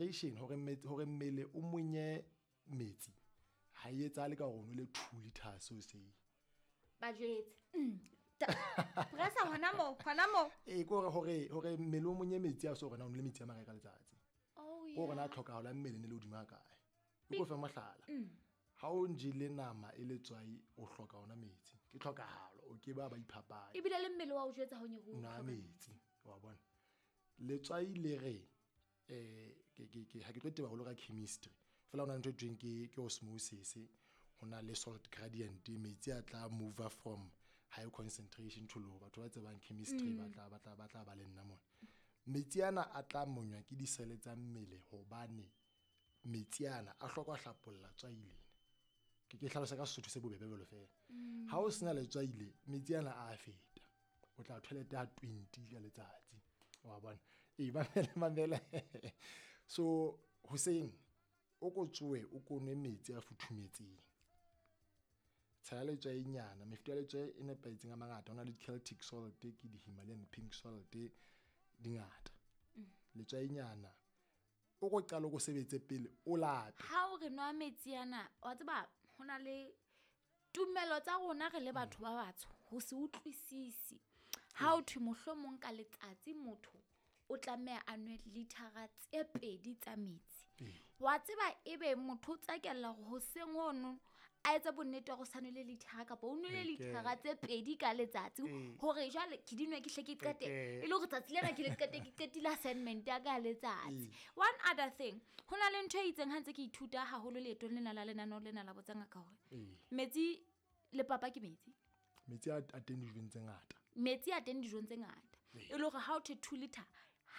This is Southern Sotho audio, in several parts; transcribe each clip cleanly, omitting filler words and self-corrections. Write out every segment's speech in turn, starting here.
Hydration, hore metsi, hore mmele o monye metsi ha e etsahale ka hore o nwele 2 liters hoseng. Ba jwetse. Pressa hona moo, hona moo. Ee, ke hore mmele o monye metsi a se hore na o nwele metsi a makae ka letsatsi. Ke hore na tlhokahalo ya mmele ne le hodimo ha kae. Ke ko fe mohlala. Ha o njele nama e letswai, o hloka ona metsi. Ke tlhokahalo, o ke ba ba iphapanya. Ebile le mmele wa o jwetsa ho nye ho Nwa metsi, wa bona. Letswai le re ke ha ke tlo teba haholo ka chemistry. Fela hona le ntho e thweng ke osmosis, ho na le salt gradient, metsi a tla move from high concentration to low. Batho ba tsebang chemistry ba tla ba le nna mona. Metsi ana a tla monywa ke disele tsa mmele hobane metsi ana a hloka ho hlapolla tswai lena. Ke hlalosa ka Sesotho se bobebe jwalo fela. Ha o sena letswai le, metsi ana a feta. O tla toilet ya 20 ka letsatsi. Wa bona? Ee, mamela, mamela. So hoseng o ko tsohe, o ko nwe metsi a futhumetseng. Tshela letswai nyana, mefuta ya letswai e nepahetseng a mangata. Ho na le Celtic salt, ke di-Himalayan pink salt, di ngata. Letswai nyana. O ko qala o ko sebetse pele o lape. Ha o re nwa metsi ana, wa tseba ho na le tumelo tsa rona re le batho ba batsho ho se utlwisisi. Ha o thwe mohlomong ka letsatsi motho o tlameha a nwe lithara tse 2 tsa metsi. Wa tseba ebe motho o tsakella hore hoseng hono a etse bonnete hore o sa nwele lithara kapa o nwele lithara tse 2 ka letsatsi, hore jwale ke di nwe ke hle ke qete, e le hore tsatsi lena ke le qete, ke qetile assignment ya ka ya letsatsi. One other thing, ho na le ntho e itseng ha ntse ke ithuta haholo leetong lena la lenaneo lena la Botsa Ngaka hore metsi le papa ke metsi. Metsi a teng dijong tse ngata. Metsi a teng dijong tse ngata. E le hore ha o thwe 2 liter,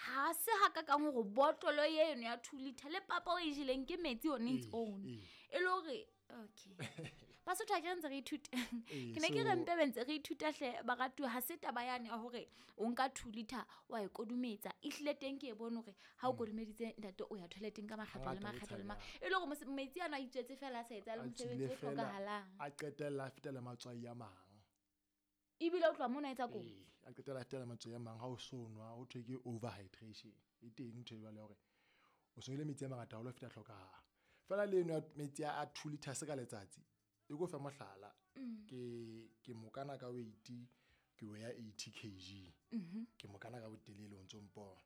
ha se ha ka kang hore botlolo eno ya 2 liter le papa o e jeleng ke metsi on its own. E le hore okay. Basotho ha ke re ntse re ithuta. Ke ne ke re mpe be ntse re ithuta hle baratuwa, ha se taba yane ya hore o nka 2 liter wa e kodumetsa. Ehlile teng ke e bone hore ha o kodumeditse ntate o ya toileteng ka makgetlo le Hangata o makgetlo le tshabeha. E le hore metsi ano a itswetse fela a sa etsa le A mosebetsi tswile o fela, hlokahalang. a qetella a fetela matswai a mang. Ebile o tloha mona a etsa kotsi. Ee, a qetella a fetela matswai a mang ha o so nwa, ho thwe ke overhydration. E teng ntho e jwalo ya hore o so nwele metsi a mangata haholo ho feta tlhokahalo. Fela le eno ya metsi a 2 liters ka letsatsi, e ko fe mohlala. Ke mokana ka weight, ke weigh 80 kg. Ke mokana ka botelele o ntso mpona.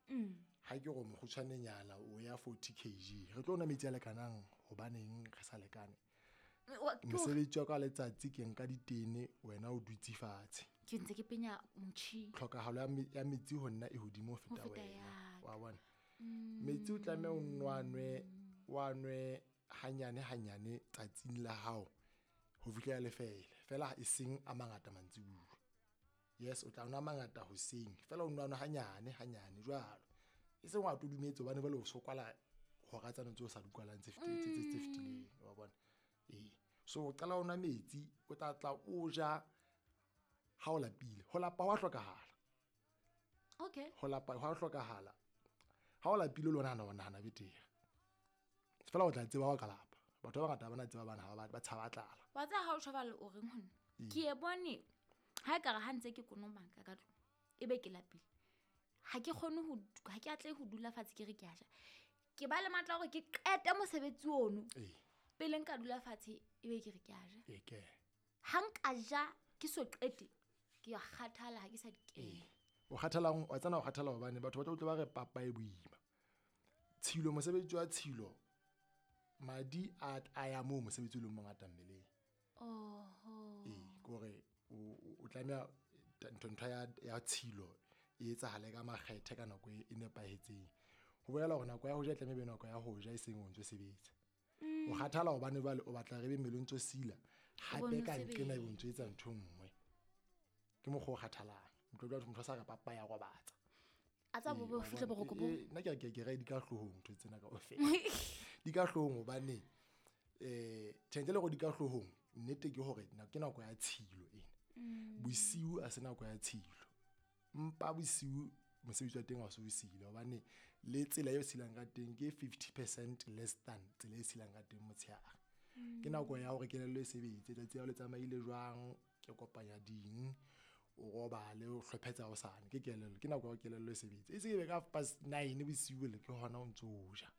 Ha ke re mokgutshwanenyana o ya 40 kg. Re tlo nwa metsi a lekanang hobaneng re sa lekane? Ke hore Mosebetsi wa ka letsatsi ke nka ditene, wena o dutse fatshe. Ke ntse ke penya motjhini. Tlhokahalo ya metsi ho nna e hodimo ho feta Ho feta wena. ya ka. Wa bona? Metsi o tlameha o nwa wa nwe hanyane hanyane tsatsing la hao ho fihlela le fela. Fela e seng a mangata mantsibuya. Yes, o tla nwa mangata hoseng, fela o nwa hanyane hanyane jwalo. E seng wa todumetse hobane jwale o so kwala hora tsane tseo o sa di kwalang tse tse fetileng, wa bona? Ee. So o qala o nwa metsi, o tla tla o ja ha o lapile. Ho lapa ho a hlokahala. Ho lapa ho a hlokahala. Ha o lapile le ona o nahana betere. Fela o tla tseba ha o ka lapa. Batho ba bangata ha ba na tseba bana ha ba tshaba tlala. Wa tseba ha o tjho jwalo o reng ho nna? Ke e bone ha ekare ha ntse ke konomaka ka tlung, ebe ke lapile. Ha ke kgone ho ha ke atlehe ho dula fatshe ke re ke a ja. Ke ba le matla hore ke qete mosebetsi ono. Pele nka dula fatshe ebe ke re ke a ja. Ee, ke. Ha nka ja ke so qete, ke a kgathala ha ke sa di kena. O kgathalang, wa tsena o kgathala hobane batho ba tla utlwa ba re papa e boima. Tshilo, mosebetsi wa tshilo, madi a ya moo mosebetsi o leng mongata mmeleng. Ee, ke hore o tlameha ntho ya tshilo e etsahale ka makgethe ka nako e nepahetseng. Ho bolela hore nako ya ho ja e tlameha e be nako ya ho ja e seng o ntso sebetsa. O kgathala hobane jwale o batla re be mmele o ntso sila, hape Bone ka nqena sebetsa. ebe o ntso etsa ntho e nngwe. Ke mokgwa o kgathalang. Ntlo jwale motho a sa re papa ya robatsa. A tsa bo Ee, bo wa fihle bona. boroko bo. Ee, nna ke re di ka hloohong ntho tsena kaofela. Di ka hloohong hobane, tjhe, ntle le hore di ka hloohong, nnete ke hore ke nako ya tshilo ena. Bosiu ha se nako ya tshilo. Mpa bosiu mosebetsi wa teng ha o so o sile hobane le tsela eo silang ka teng ke 50% less than tsela e silang ka teng motshehare. Ke nako ya hore kelello e sebetse, tsatsi la hao le tsamaile jwang, ke kopanya ding, o robale, o hlophetsa hosane, ke kelello, ke nako ya hore kelello e sebetse. E se e be ka half past nine bosiu le ke hona o ntso o ja.